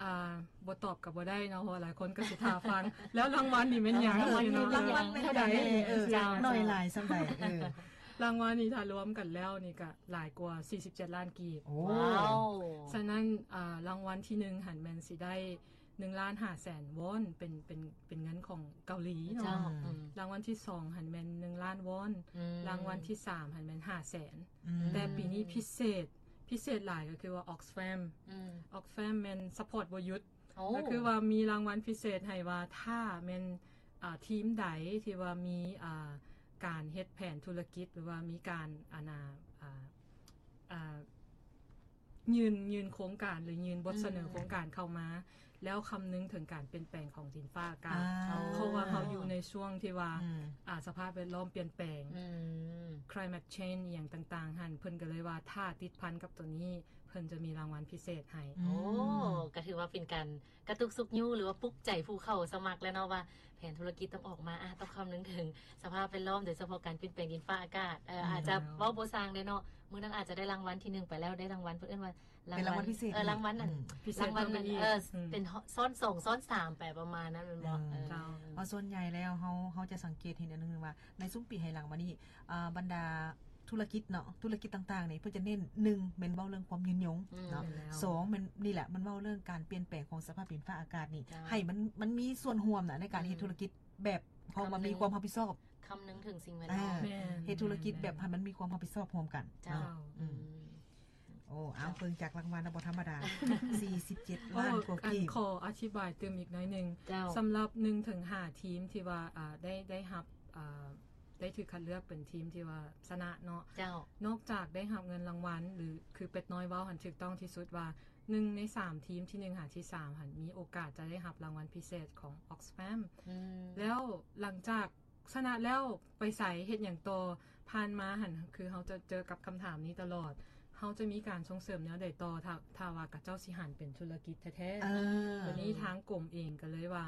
ອ່າ ບໍ່ຕອບກໍບໍ່ໄດ້ເນາະ ເພາະວ່າຫຼາຍຄົນກໍຊິຖ້າຟັງ ແລ້ວລາງວັນນີ້ແມ່ນຫຍັງ ເອີ ລາງວັນ ລາງວັນແມ່ນເທົ່າໃດ ເອີ ເຈົ້າ ໜ້ອຍຫຼາຍສ່ຳໃດ ເອີ ລາງວັນນີ້ຖ້າລວມກັນແລ້ວນີ້ກໍຫຼາຍກວ່າສີ່ສິບເຈັດລ້ານກີບ ໂອ້ ວ້າວ ສະນັ້ນ ອ່າ ລາງວັນທີໜຶ່ງຫັ້ນແມ່ນຊິໄດ້ໜຶ່ງລ້ານຫ້າແສນວອນ ເປັນ ເປັນ ເປັນເງິນຂອງເກົາຫຼີເນາະ ເຈົ້າ ອືມ ລາງວັນທີສອງຫັ້ນແມ່ນໜຶ່ງລ້ານວອນ ອືມ ລາງວັນທີສາມຫັ້ນແມ່ນຫ້າແສນ ອືມ ແຕ່ປີນີ້ພິເສດ ພິເສດຫຼາຍກໍຄືວ່າ Oxfam ອືມ Oxfam ແມ່ນ support ບໍ່ຢຸດ ໂອ້ ກໍຄືວ່າມີລາງວັນພິເສດໃຫ້ວ່າ ຖ້າແມ່ນ ອ່າ ທີມໃດທີ່ວ່າມີ ອ່າ ການເຮັດແຜນທຸລະກິດ ຫຼືວ່າມີການ ອັນນາ ອ່າ ອ່າ ຍື່ນ ຍື່ນໂຄງການ ຫຼື ຍື່ນບົດສະເໜີ ອືມ ໂຄງການເຂົ້າມາ ແລ້ວຄຳນຶງເຖິງການປ່ຽນແປງຂອງດິນຟ້າອາກາດ ອ່າ ເພາະວ່າເຮົາຢູ່ໃນຊ່ວງທີ່ວ່າ ອືມ ອ່າ ສະພາບແວດລ້ອມປ່ຽນແປງ ອືມ climate change ອີ່ຫຍັງຕ່າງໆ ຫັ້ນ ເພິ່ນກໍເລີຍວ່າ ຖ້າຕິດພັນກັບໂຕນີ້ ເພິ່ນຈະມີລາງວັນພິເສດໃຫ້ ອືມ ໂອ້ ກໍຖືວ່າເປັນການກະຕຸກຊຸກຍູ້ ຫຼືວ່າປຸກໃຈຜູ້ເຂົ້າສະໝັກແລ້ວເນາະ ວ່າແຜນທຸລະກິດຕ້ອງອອກມາ ອາ ຕ້ອງຄຳນຶງເຖິງສະພາບແວດລ້ອມ ໂດຍສະເພາະການປ່ຽນແປງດິນຟ້າອາກາດ ເອີ ອືມ ອາດຈະເວົ້າບໍ່ຊ່າງເດ້ເນາະ ມື້ນັ້ນອາດຈະໄດ້ລາງວັນທີໜຶ່ງໄປແລ້ວ ໄດ້ລາງວັນ ເພິ່ນເອີ້ນວ່າລາງວັນ ເປັນລາງວັນພິເສດ ເອີ ລາງວັນນັ້ນ ອືມ ພິເສດ ລາງວັນນັ້ນ ເອີ ອືມ ເປັນຊ້ອນສອງ ຊ້ອນສາມໄປປະມານນັ້ນແມ່ນບໍ່ ເອີ ເອີ ເຈົ້າ ເພາະສ່ວນໃຫຍ່ແລ້ວເຮົາ ເຮົາຈະສັງເກດເຫັນອັນໜຶ່ງວ່າ ໃນຊຸມປີໄຮ່ຫຼັງມານີ້ ອ່າ ບັນດາທຸລະກິດເນາະ ທຸລະກິດຕ່າງໆນີ້ ເພິ່ນຈະເນັ້ນ ໜຶ່ງ ແມ່ນເວົ້າເລື່ອງຄວາມຍືນຍົງ ອືມ ເນາະ ແມ່ນແລ້ວ ສອງ ແມ່ນ ນີ້ແຫຼະ ມັນເວົ້າເລື່ອງການປ່ຽນແປງຂອງສະພາບດິນຟ້າອາກາດນີ້ ເຈົ້າ ໃຫ້ມັນ ມັນມີສ່ວນຮ່ວມນະ ໃນການເຮັດ ອືມ ທຸລະກິດແບບເຮົາມາມີຄວາມຮັບຜິດຊອບ ຄຳນຶງເຖິງສິ່ງແວດລ້ອມ ເອີ ແມ່ນ ເຮັດທຸລະກິດແບບໃຫ້ມັນມີຄວາມຮັບຜິດຊອບຮ່ວມກັນ ເຈົ້າ ເນາະ ອືມ ອືມ ໂອ້ ເອົາ ເບິ່ງຈາກລາງວັນນະ ບໍ່ທຳມະດາ ສີ່ສິບເຈັດລ້ານກວ່າກີບ ໂອ້ ອັນ ຂໍອະທິບາຍຕື່ມອີກໜ້ອຍໜຶ່ງ ເຈົ້າ ສຳລັບໜຶ່ງເຖິງຫ້າທີມທີ່ວ່າ ອ່າ ໄດ້ ໄດ້ຮັບ ອ່າ ໄດ້ຖືກຄັດເລືອກເປັນທີມທີ່ວ່າຊະນະເນາະ ເຈົ້າ ນອກຈາກໄດ້ຮັບເງິນລາງວັນ ຫຼື ຄືເປັດນ້ອຍເວົ້າຫັ້ນ ຖືກຕ້ອງທີ່ສຸດວ່າ ໜຶ່ງໃນສາມ ທີມທີໜຶ່ງຫາທີສາມຫັ້ນ ມີໂອກາດຈະໄດ້ຮັບລາງວັນພິເສດຂອງ Oxfam ອືມ ແລ້ວຫຼັງຈາກ ຊະນະແລ້ວໄປໃສ ເຮັດຫຍັງຕໍ່? ຜ່ານມາຫັ້ນ ຄືເຮົາຈະເຈີກັບຄຳຖາມນີ້ຕະຫຼອດ ເຮົາຈະມີການສົ່ງເສີມແນວໃດຕໍ່ ຖ້າ ຖ້າວ່າຂະເຈົ້າຊິຫັນເປັນທຸລະກິດແທ້ໆ? ເອີ ໂຕນີ້ທາງກົມເອງກໍເລີຍວ່າ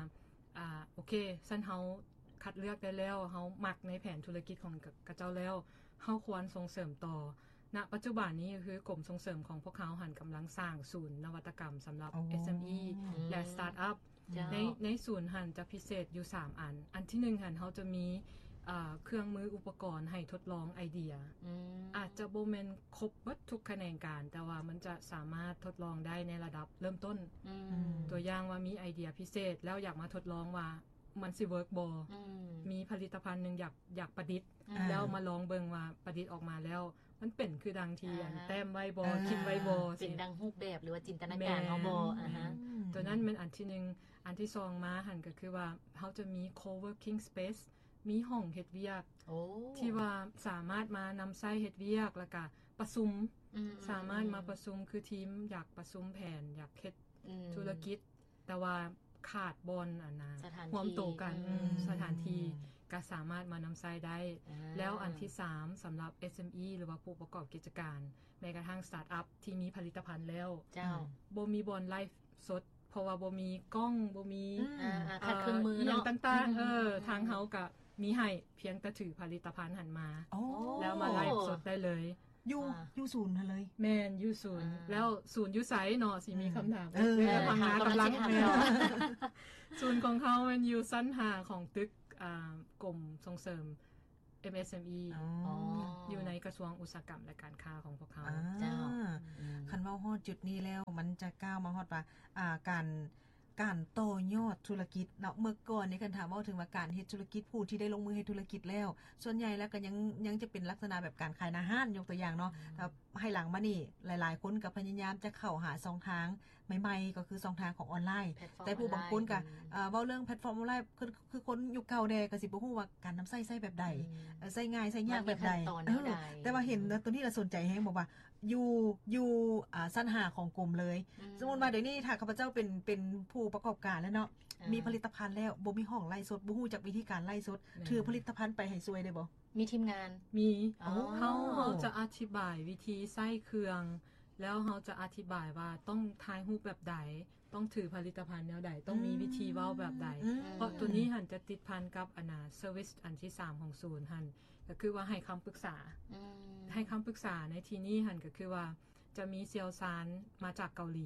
ອ່າ ໂອເຄ ຊັ້ນເຮົາຄັດເລືອກໄດ້ແລ້ວ ເຮົາມັກໃນແຜນທຸລະກິດຂອງຂະເຈົ້າແລ້ວ ເຮົາຄວນສົ່ງເສີມຕໍ່. ນະປັດຈຸບັນນີ້ ກໍຄືກົມສົ່ງເສີມຂອງພວກເຮົາຫັ້ນ ກຳລັງສ້າງສູນນະວັດຕະກຳສຳລັບ ໂອ້ ເອັສເອັມອີ ແລະ ສະຕາດອັບ ເຈົ້າ ໃນ ໃນສູນຫັ້ນຈະພິເສດຢູ່ສາມອັນ ອັນທີໜຶ່ງຫັ້ນ ເຮົາຈະມີ ເອີ ເຄື່ອງມືອຸປະກອນໃຫ້ທົດລອງໄອເດຍ ອືມ ອາດຈະບໍ່ແມ່ນຄົບເບິດທຸກຂະແໜງການ ແຕ່ວ່າມັນຈະສາມາດທົດລອງໄດ້ໃນລະດັບເລີ່ມຕົ້ນ ອືມ ຕົວຢ່າງວ່າມີໄອເດຍພິເສດ ແລ້ວຢາກມາທົດລອງວ່າມັນຊິເວີກບໍ່ ອືມ ມີຜະລິດຕະພັນໜຶ່ງຢາກ ຢາກປະດິດ ອືມ ແລ້ວມາລອງເບິ່ງວ່າປະດິດອອກມາແລ້ວ ມັນເປັນຄືດັ່ງທີ່ ອ່າ ອັນແຕ້ມໄວ້ບໍ່ ເອີ ຄິດໄວ້ບໍ່ ເປັນ ຊິ ດັ່ງຮູບແບບ ຫຼືວ່າຈິນຕະນາການເຮົາບໍ່? ແມ່ນ ອາຮະ ອືມ ຕົວນັ້ນແມ່ນອັນທີໜຶ່ງ ອັນທີສອງມາຫັ້ນ ກໍຄືວ່າເຮົາຈະມີ co-working space ມີຫ້ອງເຮັດວຽກ ໂອ້ ທີ່ວ່າສາມາດມານຳໃຊ້ເຮັດວຽກ ແລ້ວກະປະຊຸມ ອືມ ສາມາດມາປະຊຸມ ອືມ ຄືທີມຢາກປະຊຸມແຜນ ຢາກເຮັດ ອືມ ທຸລະກິດ ແຕ່ວ່າຂາດບ່ອນອັນນະ ສະຖານທີ່ ຮ່ວມໂຕກັນ ອືມ ອືມ ສະຖານທີ່ ອືມ ກໍສາມາດມານຳໃຊ້ໄດ້ ອ່າ ແລ້ວອັນທີສາມ ສຳລັບ ເອັສເອັມອີ ຫຼືວ່າຜູ້ປະກອບກິດຈະການ ແມ້ກະທັ່ງສະຕາດອັບທີ່ມີຜະລິດຕະພັນແລ້ວ ເຈົ້າ ອືມ ບໍ່ມີບ່ອນໄລຟ໌ສົດ ເພາະວ່າບໍ່ມີກ້ອງ ບໍ່ມີ ອືມ ອ່າ ອ່າ ຂາດເຄື່ອງມື ເອີ ອີ່ຫຍັງ ເນາະ ຕ່າງໆ ອືມ ເອີ ອືມ ທາງເຮົາກະ ມີໃຫ້ ພຽງແຕ່ຖືຜະລິດຕະພັນຫັ້ນມາ ໂອ້ ແລ້ວມາໄລຟ໌ສົດໄດ້ເລີຍ. ຢູ່ ອ່າ ຢູ່ສູນຫັ້ນເລີຍ? ແມ່ນ ຢູ່ສູນ. ອ່າ ແລ້ວສູນຢູ່ໃສເນາະ ຊິມີຄຳຖາມ. ເອີ ເອີ ພັງງາກຳລັງ ແມ່ນ ສູນຂອງເຮົາແມ່ນຢູ່ຊັ້ນຫ້າຂອງຕຶກ ອ່າ ກົມສົ່ງເສີມ ເອັມເອສເອັມອີ ອໍ ຢູ່ໃນກະຊວງອຸດສາຫະກຳ ແລະ ການຄ້າຂອງພວກເຮົາ. ອ່າ ເຈົ້າ ອືມ ຄັນເວົ້າຮອດຈຸດນີ້ແລ້ວ ມັນຈະກ້າວມາຮອດວ່າ ອ່າ ການ ການຕໍ່ຍອດທຸລະກິດເນາະ. ເມື່ອກ່ອນນີ້ ຄັນຖ້າເວົ້າເຖິງວ່າການເຮັດທຸລະກິດ ຜູ້ທີ່ໄດ້ລົງມືເຮັດທຸລະກິດແລ້ວ ສ່ວນໃຫຍ່ແລ້ວກໍຍັງ ຍັງຈະເປັນລັກສະນະແບບການຂາຍໜ້າຮ້ານ ຍົກຕົວຢ່າງເນາະ. ອືມ ແລ້ວໃຫ້ຫຼັງມານີ້ ຫຼາຍໆຄົນກໍພະຍາຍາມຈະເຂົ້າຫາຊ່ອງທາງໃໝ່ໆ ກໍຄືຊ່ອງທາງຂອງອອນລາຍ. ແຕ່ຜູ້ບາງຄົນກໍ ອືມ ເອີ ເວົ້າເລື່ອງແພລດຟອມອອນລາຍ ຄື ຄືຄົນຍຸກເກົ່າແດ່ ກໍຊິບໍ່ຮູ້ວ່າການນຳໃຊ້ໃຊ້ແບບໃດ ອືມ ເອີ ໃຊ້ງ່າຍໃຊ້ຍາກແບບໃດ. ເອີ ແຕ່ວ່າເຫັນ ອືມ ໂຕນີ້ລະສົນໃຈແຮງ ບອກວ່າ ຢູ່ ຢູ່ ອ່າ ຊັ້ນຫ້າຂອງກົມເລີຍ. ອືມ ສົມມຸດວ່າດຽວນີ້ຖ້າຂ້າພະເຈົ້າເປັນ ເປັນຜູ້ປະກອບການແລ້ວເນາະ ອ່າ ມີຜະລິດຕະພັນແລ້ວ ບໍ່ມີຫ້ອງໄລຟ໌ສົດ ບໍ່ຮູ້ຈັກວິທີການໄລຟ໌ສົດ ແມ່ນ ຖືຜະລິດຕະພັນໄປໃຫ້ຊ່ວຍໄດ້ບໍ່? ມີທີມງານ ມີ. ອໍ ເຮົາ ເຮົາຈະອະທິບາຍວິທີໃຊ້ເຄື່ອງ ແລ້ວເຮົາຈະອະທິບາຍວ່າຕ້ອງຖ່າຍຮູບແບບໃດ ຕ້ອງຖືຜະລິດຕະພັນແນວໃດ ຕ້ອງມີ ອືມ ວິທີເວົ້າແບບໃດ. ອືມ ເພາະໂຕນີ້ຫັ້ນຈະຕິດພັນກັບອັນນ່າ ເຊີວິສອັນທີສາມຂອງສູນຫັ້ນ ກໍຄືວ່າໃຫ້ຄຳປຶກສາ. ອືມ ໃຫ້ຄຳປຶກສາໃນທີ່ນີ້ຫັ້ນ ກໍຄືວ່າຈະມີຊ່ຽວຊານມາຈາກເກົາຫຼີ.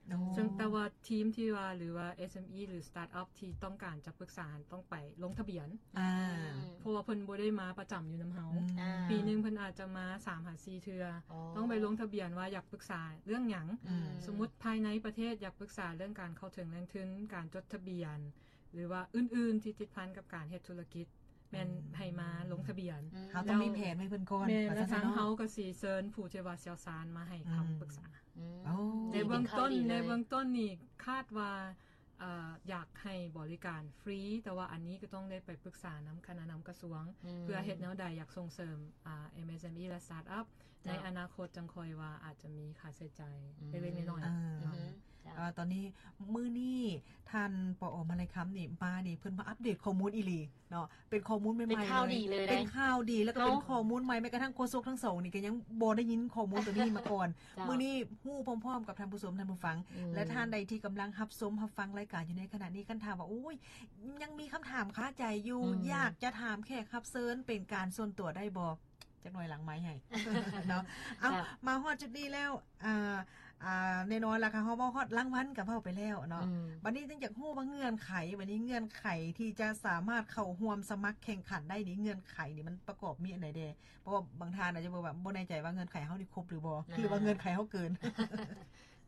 ໂອ້ ເຊິ່ງແຕ່ວ່າທີມທີ່ວ່າ ຫຼືວ່າເອັມເອສເອັມອີ ຫຼືສະຕາດອັບທີ່ຕ້ອງການຈະປຶກສາຫັ້ນ ຕ້ອງໄປລົງທະບຽນ. ອ່າ ອືມ ເພາະວ່າເພິ່ນບໍ່ໄດ້ມາປະຈຳຢູ່ນຳເຮົາ. ອືມ ອ່າ ປີໜຶ່ງເພິ່ນອາດຈະມາສາມຫາສີ່ເທື່ອ. ອໍ ຕ້ອງໄປລົງທະບຽນວ່າຢາກປຶກສາເລື່ອງຫຍັງ. ອືມ ສົມມຸດພາຍໃນປະເທດຢາກປຶກສາເລື່ອງການເຂົ້າເຖິງແຫຼ່ງທຶນ, ການຈົດທະບຽນ ຫຼືວ່າອື່ນໆທີ່ຕິດພັນກັບການເຮັດທຸລະກິດ ແມ່ນ ອືມ ໃຫ້ມາລົງທະບຽນ. ອືມ ເຮົາຕ້ອງມີແຜນໃຫ້ເພິ່ນກ່ອນ. ແມ່ນ ວ່າຊັ້ນເນາະ. ແລ້ວທາງເຮົາກໍຊິເຊີນຜູ້ທີ່ວ່າຊ່ຽວຊານມາໃຫ້ຄຳປຶກສາ. ອືມ ອືມ ໂອ້ ໃນເບື້ອງຕົ້ນ ດີເປັນຂ່າວດີເລີຍ. ໃນເບື້ອງຕົ້ນນີ້ຄາດວ່າ ເອີ ຢາກໃຫ້ບໍລິການຟຣີ ແຕ່ວ່າອັນນີ້ກໍຕ້ອງໄດ້ໄປປຶກສານຳຄະນະນຳກະຊວງ ອືມ ເພື່ອເຮັດແນວໃດ ຢາກສົ່ງເສີມ ອ່າ ເອັມເອສເອັມອີ ແລະ ສະຕາດອັບ. ເຈົ້າ ໃນອະນາຄົດຈັ່ງຄ່ອຍວ່າອາດຈະມີຄ່າໃຊ້ຈ່າຍ ອືມ ເລັກໆນ້ອຍໆ. ອ່າ ເນາະ ອືມ ເຈົ້າ ເອີ ຕອນນີ້ມື້ນີ້ທ່ານ ປອ ມະໄລຄຳ ນີ້ມານີ້ ເພິ່ນມາອັບເດດຂໍ້ມູນອີ່ຫຼີເນາະ ເປັນຂໍ້ມູນໃໝ່ໆ ເປັນຂ່າວດີເລີຍ ເລີຍ ເປັນຂ່າວດີ ແລ້ວກໍເປັນ ເຮົາ ຂໍ້ມູນໃໝ່. ແມ້ກະທັ່ງໂຄສົກທັງສອງນີ້ກໍຍັງບໍ່ໄດ້ຍິນຂໍ້ມູນຕົວນີ້ມາກ່ອນ. ເຈົ້າ ມື້ນີ້ຮູ້ພ້ອມໆກັບທ່ານຜູ້ຊົມທ່ານຜູ້ຟັງ ອືມ ແລະ ທ່ານໃດທີ່ກຳລັງຮັບຊົມຮັບຟັງລາຍການຢູ່ໃນຂະນະນີ້ ຄັນຖ້າວ່າ ໂອ້ຍ ຍັງມີຄຳຖາມຄາໃຈຢູ່ ອືມ ຢາກຈະຖາມແຂກຮັບເຊີນເປັນການສ່ວນຕົວໄດ້ບໍ່? ຈັກໜ່ອຍຫຼັງໄມໃຫ້ ເນາະ. ເອົາ ເຈົ້າ ມາຮອດຈຸດນີ້ແລ້ວ ອ່າ ອ່າ ແນ່ນອນລະ ເຮົາເວົ້າຮອດລາງວັນກໍເວົ້າໄປແລ້ວເນາະ. ອືມ ບັດນີ້ຈຶ່ງຢາກຮູ້ວ່າເງື່ອນໄຂ ບັດນີ້ເງື່ອນໄຂທີ່ຈະສາມາດເຂົ້າຮ່ວມສະໝັກແຂ່ງຂັນໄດ້ນີ້ ເງື່ອນໄຂນີ້ມັນປະກອບມີອັນໃດແດ່? ເພາະວ່າບາງທ່ານອາດຈະແບບວ່າບໍ່ແນ່ໃຈວ່າເງື່ອນໄຂເຮົານີ້ຄົບຫຼືບໍ່ ອ່າ ຫຼືວ່າເງື່ອນໄຂເຮົາເກີນ?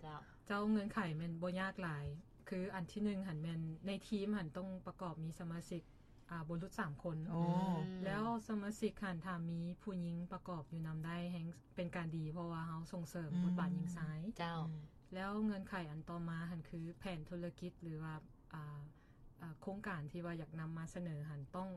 ເຈົ້າ ເຈົ້າ ເງື່ອນໄຂແມ່ນບໍ່ຍາກຫຼາຍ ຄືອັນທີໜຶ່ງຫັ້ນແມ່ນໃນທີມຫັ້ນຕ້ອງປະກອບມີສະມາຊິກ ອ່າ ບໍ່ຫຼຸດສາມຄົນ. ໂອ້ ອືມ ແລ້ວສະມາຊິກຫັ້ນຖ້າມີຜູ້ຍິງປະກອບຢູ່ນຳໄດ້ແຮ່ງເປັນການດີ ເພາະວ່າເຮົາສົ່ງເສີມ ອືມ ບົດບາດຍິງຊາຍ. ເຈົ້າ ອືມ ແລ້ວເງື່ອນໄຂອັນຕໍ່ມາຫັ້ນຄືແຜນທຸລະກິດ ຫຼືວ່າ ອ່າ ອ່າ ໂຄງການທີ່ວ່າຢາກນຳມາສະເໜີຫັ້ນຕ້ອງ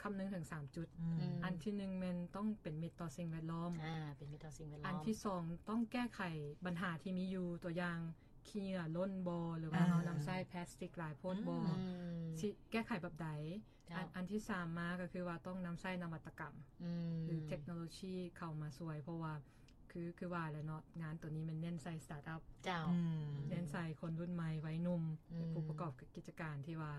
ຄຳນຶງເຖິງສາມຈຸດ. ອືມ ອືມ ອັນທີໜຶ່ງແມ່ນຕ້ອງເປັນມິດຕໍ່ສິ່ງແວດລ້ອມ. ອ່າ ເປັນມິດຕໍ່ສິ່ງແວດລ້ອມ. ອັນທີສອງຕ້ອງແກ້ໄຂບັນຫາທີ່ມີຢູ່ ຕົວຢ່າງຂີ້ເຫຍື້ອຫຼົ່ນບໍ່ ຫຼືວ່າ ອ່າ ເຮົານຳໃຊ້ພລາສຕິກຫຼາຍໂພດບໍ່ ອືມ ຊິແກ້ໄຂແບບໃດ? ເຈົ້າ ອັນ ອັນທີສາມມາກໍຄືວ່າຕ້ອງນຳໃຊ້ນະວັດຕະກຳ ອືມ ຫຼືເທັກໂນໂລຊີເຂົ້າມາຊ່ວຍ ເພາະວ່າ ຄື ຄືວ່າແຫຼະເນາະ ງານໂຕນີ້ແມ່ນເນັ້ນໃສ່ສະຕາດອັບ. ເຈົ້າ ອືມ ເນັ້ນໃສ່ຄົນລຸ້ນໃໝ່ ໄວໜຸ່ມ ອືມ ຜູ້ປະກອບກິດຈະການທີ່ວ່າ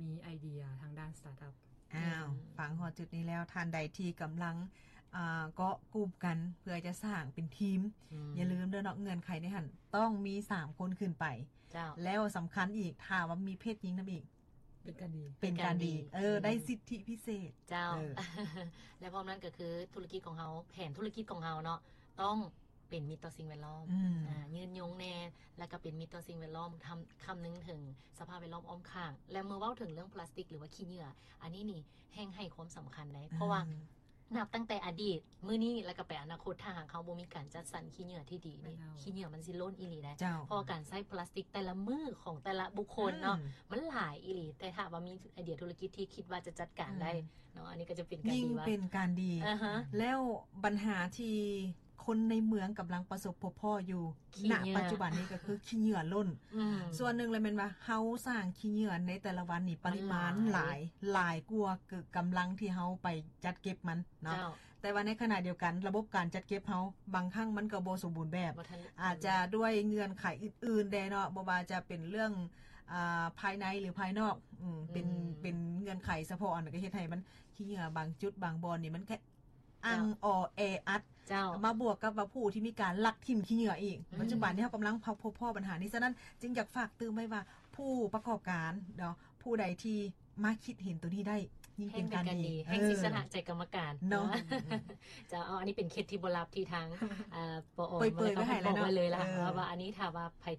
ມີໄອເດຍທາງດ້ານສະຕາດອັບ. ອ້າວ ອືມ ຟັງຮອດຈຸດນີ້ແລ້ວ ທ່ານໃດທີ່ກຳລັງ ອ່າ ເກາະກຸ່ມກັນເພື່ອຈະສ້າງເປັນທີມ ອືມ ຢ່າລືມເດີເນາະ ເງື່ອນໄຂໃນຫັ້ນຕ້ອງມີສາມຄົນຂຶ້ນໄປ. ເຈົ້າ ແລ້ວສຳຄັນອີກ ຖ້າວ່າມີເພດຍິງນຳອີກ ເປັນການດີ ເປັນການດີ ເປັນການດີ ເອີ ອືມ ໄດ້ສິດທິພິເສດ. ເຈົ້າ ເອີ ແລະ ພ້ອມນັ້ນກໍຄືທຸລະກິດຂອງເຮົາ ແຜນທຸລະກິດຂອງເຮົາເນາະ ຕ້ອງເປັນມິດຕໍ່ສິ່ງແວດລ້ອມ ອືມ ອ່າ ຍືນຍົງແດ່ ແລ້ວກໍເປັນມິດຕໍ່ສິ່ງແວດລ້ອມ ຄຳ ຄຳນຶງເຖິງສະພາບແວດລ້ອມອ້ອມຂ້າງ. ແລະ ເມື່ອເວົ້າເຖິງເລື່ອງພລາສຕິກ ຫຼືວ່າຂີ້ເຫຍື້ອ ອັນນີ້ນີ້ແຮ່ງໃຫ້ຄວາມສຳຄັນໄດ໋ ເພາະວ່າ ອືມ ນັບຕັ້ງແຕ່ອະດີດ ມື້ນີ້ ແລ້ວກໍໄປອະນາຄົດ ຖ້າຫາກເຮົາບໍ່ມີການຈັດສັນຂີ້ເຫຍື້ອທີ່ດີນີ້ ແມ່ນແລ້ວ ຂີ້ເຫຍື້ອມັນຊິລົ້ນອີ່ຫຼີໄດ໋. ເຈົ້າ ເພາະວ່າການໃຊ້ພລາສຕິກແຕ່ລະມື້ຂອງແຕ່ລະບຸກຄົນເນາະ ອືມ ມັນຫຼາຍອີ່ຫຼີ ແຕ່ຖ້າວ່າມີໄອເດຍທຸລະກິດທີ່ຄິດວ່າຈະຈັດການໄດ້ ອືມ ເນາະ ອັນນີ້ກໍຈະເປັນການດີ ຍິ່ງເປັນການດີ. ອ່າຮະ ແລ້ວບັນຫາທີ່ຄົນໃນເມືອງກຳລັງປະສົບພົບພໍ້ຢູ່ ຂີ້ເຫຍື້ອ ນະປັດຈຸບັນນີ້ກໍຄືຂີ້ເຫຍື້ອລົ້ນ. ອືມ ສ່ວນໜຶ່ງລະແມ່ນວ່າເຮົາສ້າງຂີ້ເຫຍື້ອໃນແຕ່ລະວັນນີ້ ປະລິມານ ມັນຫຼາຍ ຫຼາຍ ຫຼາຍກວ່າກຳລັງທີ່ເຮົາໄປຈັດເກັບມັນເນາະ. ເຈົ້າ ແຕ່ວ່າໃນຂະນະດຽວກັນ ລະບົບການຈັດເກັບເຮົາ ບາງຄັ້ງມັນກໍບໍ່ສົມບູນແບບ ບໍ່ທັນ ອາດຈະດ້ວຍເງື່ອນໄຂອື່ນໆແດ່ເນາະ ບໍ່ວ່າຈະເປັນເລື່ອງ ອ່າ ພາຍໃນ ຫຼື ພາຍນອກ ອືມ ເປັນ ອືມ ເປັນເງື່ອນໄຂສະເພາະອັນ ກໍເຮັດໃຫ້ມັນ ຂີ້ເຫຍື້ອບາງຈຸດບາງບ່ອນນີ້ມັນກະ ເຈົ້າ ອັ່ງອໍແອອັດ ເຈົ້າ ມາບວກກັບວ່າຜູ້ທີ່ມີການລັກຖິ້ມຂີ້ເຫຍື້ອອີກ ອືມ ປັດຈຸບັນນີ້ເຮົາກຳລັງພົບພໍ້ບັນຫານີ້ ສະນັ້ນຈຶ່ງຢາກຝາກຕື່ມໄວ້ວ່າ ຜູ້ປະກອບການເນາະ ຜູ້ໃດທີ່ມາຄິດເຫັນໂຕນີ້ໄດ້ ຍິ່ງເປັນການດີ ແຮ່ງເປັນການດີ ເອີ ແຮ່ງຊິຊະນະໃຈກຳມະການເນາະ ເຈົ້າ ເອົາ ອັນນີ້ເປັນເຄັດທີ່ບໍ່ລັບທີ່ທາງ ເອີ ປອ ເປີຍໆໄວ້ໃຫ້ແລ້ວເນາະ ບອກໄວ້ເລີຍລະ ເອີ ວ່າ ວ່າອັນນີ້ຖ້າວ່າໃຜ